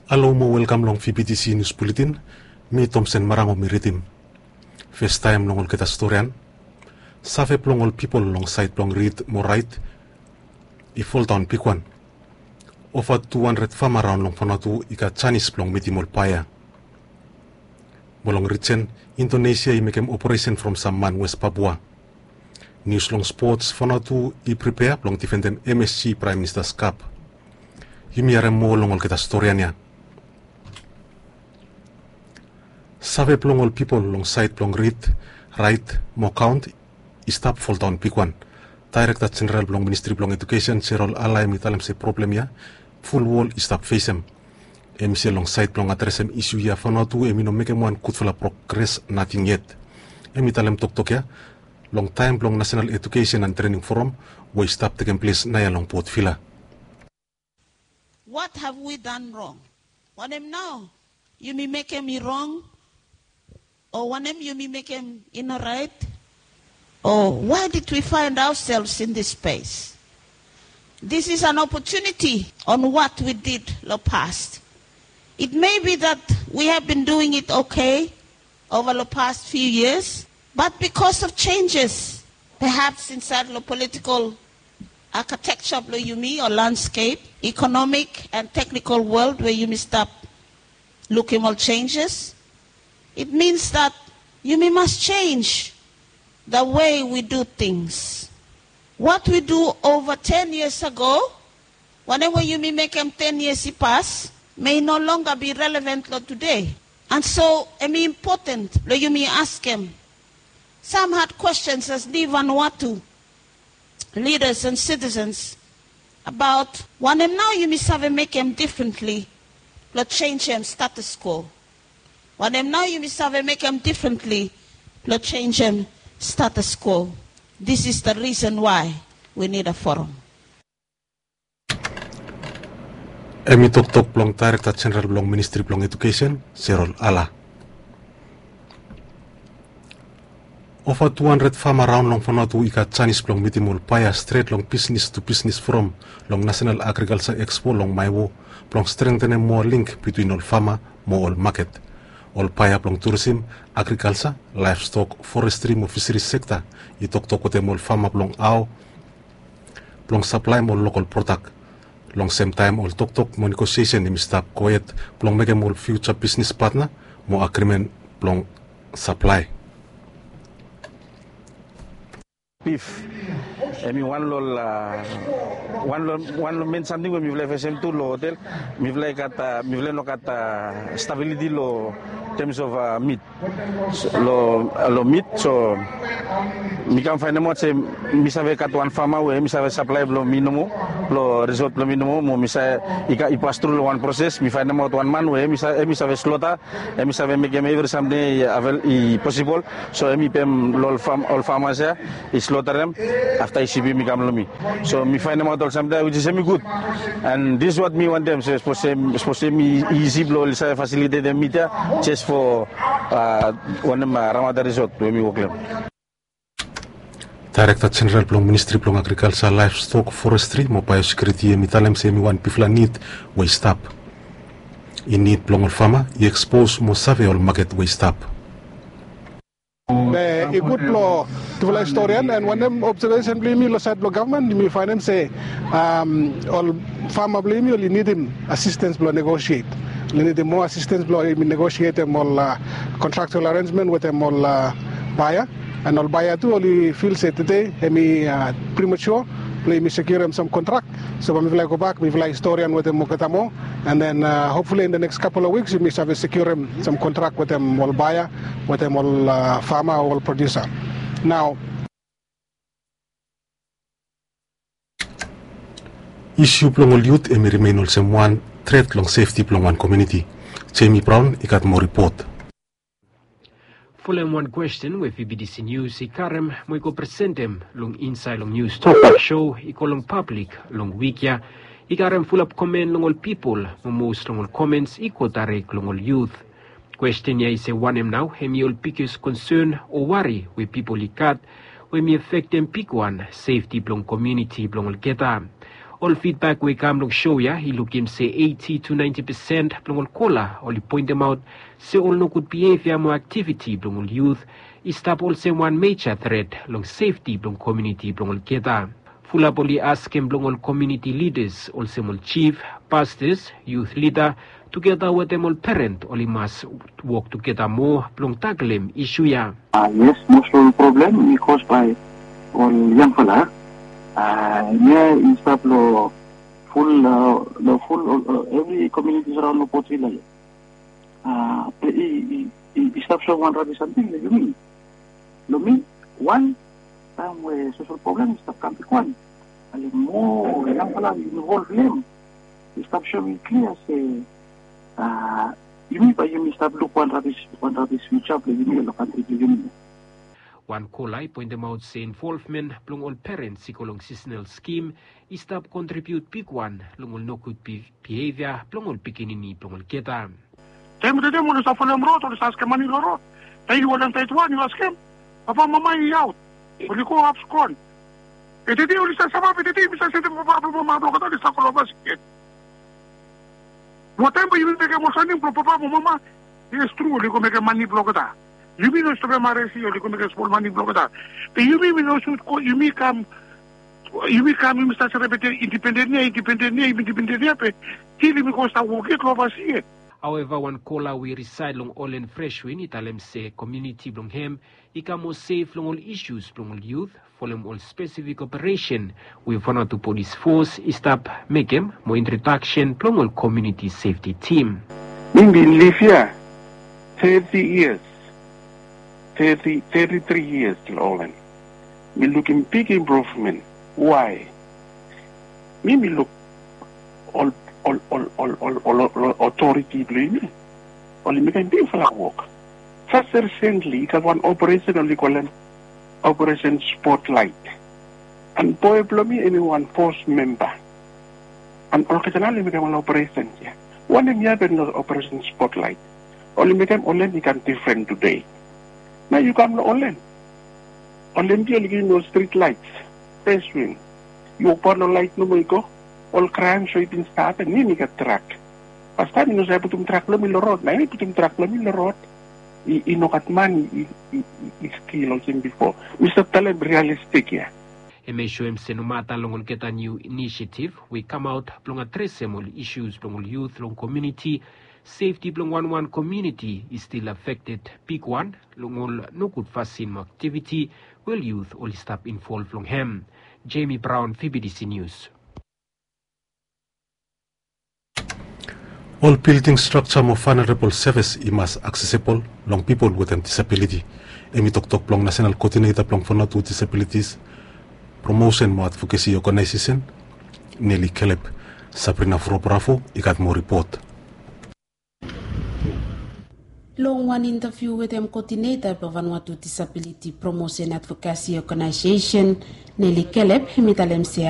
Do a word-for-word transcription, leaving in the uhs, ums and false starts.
Halo mo welkam long V B T C News Bulletin. Mi Tomsen Marango mi ridim. Festaem long olgeta storian. Save blong ol pipol long saed blong rid mo raet i foldaon bigwan. Ova tu handred fama raon long Vanuatu i gat janis blong mitim ol baea. Mo long rijen, Indonesia i mekem operesen from sam man West Papua. Nius long spots, Vanuatu i pripea blong difendem M S G Praem Minista's Kap. Yumi harem moa long olgeta storian ya. Save blong ol pipol long saed blong rid, raet mo kaon i stap foldaon bigwan. Daerekta Jeneral blong Ministri blong Ejukesen, Jerol Ala, hem i talem se problem ya ful wol i stap fesem. Hem i se long saed blong adresem isu ya, Vanuatu hem i no mekem wan gudfala progres nating yet. Hem i talem toktok ya long taem blong Nasenal Ejukesen and Trening Foram we i stap tekem ples naoia long Port Vila. What have we done wrong? Wanem nao yumi mekem i rong? O wanem yumi mekem i no raet? O why did we find ourselves in this space? This is an opportunity on what we did long past. It may be that we have been doing it okay over the past few years, but because of changes, perhaps inside the political architecture blong yumi o landscape, economic and technical world where yumi stap lukim ol changes, it means that yumi must change the way we do things. What we do over ten years ago, wanem we yumi mekem ten years i pas, may no longer be relevant long today. And so, hem i important blong yumi askem some hard questions as Vanuatu leaders and citizens about wanem nao yumi save mekem differently blong changem status quo. Wanem nao yumi save mekem differently blong changem status quo. This is the reason why we need a forum. Hem i toktok blong Daerekta Jeneral blong Ministri blong Ejukesen, Jerol Ala. Ova tu handred fama raon long Vanuatu i gat janis blong mitim ol baea stret long Business to Business Forum long Nasenal Agrikalja Ekspo long Maewo blong strengtenem moa link bitwin ol fama mo ol maket. Ol baea blong turisim, agrikalja, laevstok, forestri mo fiseris sekta i toktok wetem ol fama blong hao blong saplaem ol lokol prodak. Long semtaem ol toktok mo negosiesen hem i stap gohed blong mekem ol fiuja bisnes patna mo agrimen blong saplae. Bif hem i wan long ol a wan long wan long men samting we mifala i fesem tu long hotel. Mifala i gat a mifala i no gat a stabiliti long tems of a mit. Long mit so mi kam faenemaot se mi save gat wan fama we hem i save saplae blong mi nomo, long risot blong mi nomo mo mi save i pas tru long wan proses. Mi faenemaot wan man we hem i save slota, hem i save mekem evri samting i avel i posibol. So hem i pem long ol famas ya i slotarem afta i sipim i kam long mi. So mi faenemaot ol samting ya wis is hem i gud. And this is what mi wantem se sapos hem i isi blong oli save fasilitetem mit ya jes fo wanem ramata risot we mi wok long hem. Daerekta Jeneral blong Ministri blong Agrikalja, Laevstok, Forestri mo Baeosekiuriti hem i talem se hem i wan bigfala nid we i stap. I nid blong ol fama i ekspos mo save ol maket we i stap. Be i gud blong tufala historian, and wanem observesen blong yumi long saed blong gavman, yumi faenem se ol fama blong yumi oli nidim asistens blong negosiet. Oli nidim moa asistens blong yumi negosietem ol kontraktual arenjmen wetem ol baea. And ol baea tu oli fil se tede hem i primature blong yumi sekiurem sam kontrak. So bae mifala i gobak, mifala i storian wetem olgeta moa. And then hopefully in the next couple of weeks yumi save sekiurem sam kontrak wetem ol baea, wetem ol fama o ol produsa. Nao, isu blong ol yut hem i rimen olsem wan tret long sefti blong wan komuniti. Jemi Braon i gat moa ripot. Folem wan kwesten we V B T C News i karem mo i go presentem long insaed long News Talk Show i go long pablik long wik ya, i karem fulap komen long ol pipol mo mos long ol komens i go daerek long ol yut. Kwesten ya i se wanem nao hem i ol biges konsen o wari we pipol i gat we hem i afektem bigwan sefti blong komuniti blong olgeta. Ol fidbak we i kam long sho ya i lukim se eiti to naenti pesen blong ol kola oli poentemaot se ol nogud bievia mo aktiviti blong ol yut i stap olsem wan meja tret long sefti blong komuniti blong olgeta. Fulap oli askem blong ol komuniti lidas olsem ol jif, pastas, yut lida tugeta wetem ol peren oli mas wok tugeta moa blong taklem isu ya. Yes, most of the problem i cause by ol yangfala. Hemia i stap long ful long ful evri komunitis araon long Port Vila ya. Be i i i stap soem wan rabis samting long yumi. Long mi, wan taem we sosol problem i stap kam bigwan, ale moa yangfala i involv long hem. I stap soem klia se yumi bae yumi stap luk wan rabis wan rabis fiuja blong yumi long kantri blong yumi. Wan kola i poentemaot se involvmen blong ol perens i go long sisonal skim i stap kontribiut bigwan long ol nogud bievia blong ol pikinini blong olgeta. Taem tede oli save folem rod, oli save askem mani long rod. Taem yu holem taet wan yu askem, papa mama i aot, oli go hap skon. Be tede oli save save be tede yumi save setem papa blong mama blong olgeta oli save go long ovasi gen. Mo taem bae yumi mekem ol samting blong papa mo mama. Yes, tru, oli go mekem mani blong olgeta. Yumi no stopem aresi, oli go mekem smol mani blong olgeta. Be yumi mi no sud go, yumi kam yumi kam yumi save selebrete indipenden ya, indipenden ya, indipenden ya be til yumi go stap wok yet long ovasi ya. Haoeva, wan kola we i risaed long Olen Freshwin i talem se komuniti blong hem i kam moa sef long ol isus blong ol yut folem ol spesifik operesen we Vanuatu Polis Fos i stap mekem mo introdaksen blong ol komuniti sefti tim. Mi bin liv ya teti yias, teti teti tri yias long Olen. Mi lukim big improvmen. Wae? Mi mi luk ol ol ol ol ol ol otoriti blong yumi oli mekem bigfala wok. Jes risentli i gat wan operesen oli kolem Operesen Spotlaet. An boe blong mi hemi wan fos memba. An olgeta nao oli mekem ol operesen ya. Wanem i hapen long Operesen Spotlaet? Oli mekem Olen i kam difren tude. Nao yu kam long Olen, Olen ya oli givim yu ol strit laet. Fes win. Yu wokbaot long laet nomo i go. Ol kraem so i bin stap ya, mi mi gat drak. Pastaem mi no save putum drak blong mi long rod. Nao yumi putum drak blong mi long rod. I i no gat man i i i stil olsem bifo. Mi stap talem rialistik ya. Hemia i soem se nomata long olgeta niu inisiativ we i kamaot blong adresem ol isus blong ol yut long komuniti, sefti blong wanwan komuniti i stil afekted bigwan long ol nogud fasin mo aktiviti we ol yut oli stap involv long hem. Jemi Braon, V B D C Nius. Ol bilding strakja mo vanerabol sevis i mas aksesebol long pipol wetem disabiliti. Hemi toktok blong Nasenal Koodineta blong Vanuatu Disabilitis Promosen mo Advokesi Oganaesesen, Neli Kelep. Sabrina Frobrafo i gat moa ripot. Long wan intaviu wetem koodineta blong Vanuatu Disabiliti Promosen Advokesi Oganaesesen, Neli Kelep, hemi talem se